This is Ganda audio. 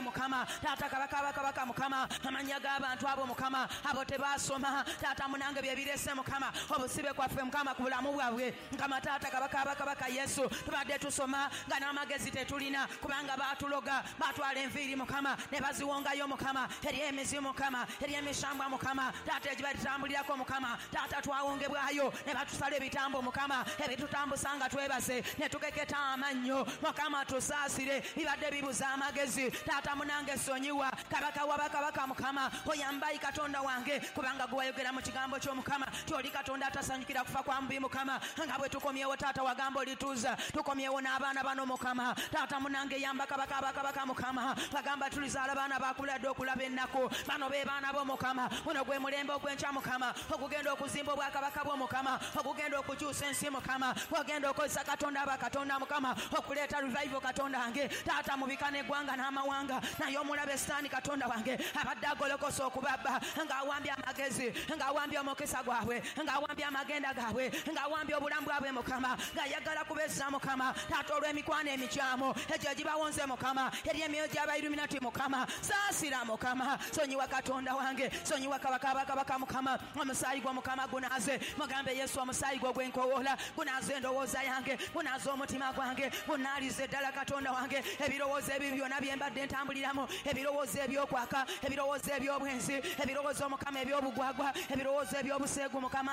Mukama. Taata kabaka bakabaka Mukama, amanya g'abantu abo Mukama, abo tebasoma taata munange bye birese Mukama, obusibe kwaffe Mukama ku bulamu bwabwe Mukama. Taata kabaka bakabaka Yesu, tubadde tusoma nga n'amagezi tetulina, kubanga baatuloga, baatwala enviiri Mukama ne baziwongayo Mukama, eri emizimu Mukama, eri emishambwa Mukama, taata egibatambulirako Mukama. Taata twawongebwayo ne batusala ebitambo Mukama, ebitutambusa nga twebase ne tukeketa amannyo Mukama, tusaasire, bibadde bibuza amagezi. Taata munange sonyiwa kabaka wa bakabaka Mukama, oyambayi Katonda wange, kubanga gwe wayogera mu kigambo ky'Omukama tyoli Katonda atasanyukira kufa kwa mubi Mukama. Nga bwe tukomyewo taata wagamba olituuza, tukomyewo n'abaana bano Mukama. Taata munange yamba kabaka bakabaka Mukama, bagamba tulizaala baana bakuladde okulaba ennaku, bano be baana bo Mukama. Guno gwe mulembe ogw'enkya Mukama, ogugenda okuzimba obwakabaka bwo Mukama, ogugenda okukyusa ensi Mukama, ogenda okozesa Katonda abakatonda Mukama, okuleeta revival Katonda wange. Taata mubika n'eggwanga n'amawanga, naye omulabe Sitaani Katonda wange abadde agolokosa okubabba, ng'awambye amagezi, ng'awambye omukisa gwabwe, ng'awambye amagenda gaabwe, ng'awambye obulamu bwabwe Mukama, ng'ayagala kubezza Mukama. Taata olw'emikwano emikyamu egyo egibawonze Mukama, eri emyoyo gy'abayiluminati Mukama, saasira Mukama, sonyiwa Katonda wange, sonyiwa kabaka bakabaka Mukama. Omusaayi gwo Mukama gunaaze, mugambe Yesu omusaayi gwo gwenkowoola gunaaze endowooza yange, gunaaze omutima gwange, gunaalize ddala Katonda wange ebirowoozo ebibi byonna bye mbadde ntambuliramu, ebirowoozo ebyokwaka, ebirowoozo eby'obwenzi, ebirowoozo Mukama eby'obugwagwa, ebirowoozo eby'obuseegu Mukama.